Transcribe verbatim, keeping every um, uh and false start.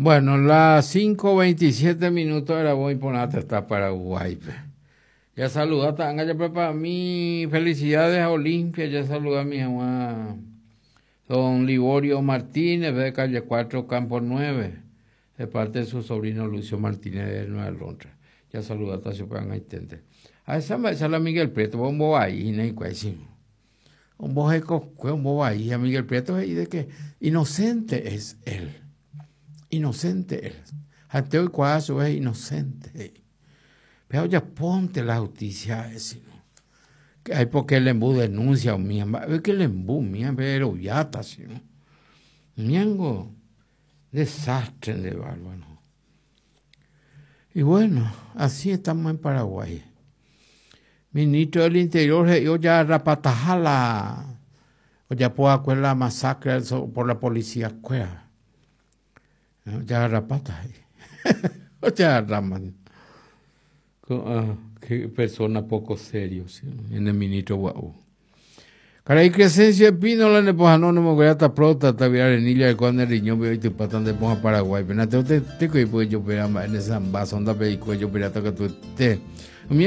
Bueno, las cinco veintisiete minutos era voy por hasta Paraguay. Ya saluda, ya para mí, felicidades a Olimpia, ya saluda a mi mamá, don Liborio Martínez, de calle cuatro, Campo nueve, de parte de su sobrino Lucio Martínez de Nueva Londres. Ya saluda a su A esa esa la Miguel Prieto, bombo ahí, un bombo ahí, a Miguel Prieto, y de que inocente es él. Inocente él. Hasta hoy cuazo es inocente. Pero ya ponte la justicia ese. Que hay porque el embú denuncia o mía, ve que el embú mía, pero ya está así, ¿no? Miango, desastre de bárbaro. Y bueno, así estamos en Paraguay. Ministro del Interior, yo ya rapatajala, o ya puedo la masacre por la policía, ya rapata. O ya raman. Ah, qué persona poco serio, ¿sí? En el ministro guau. Karai Crescencio Espínola ne poha no no mo ta prota ta via renilla de cuando el riñón veo y tu patan de poja Paraguay. Pero te te te ko yo pera ma en esa sonda pe yo pera ta que tu te. Mi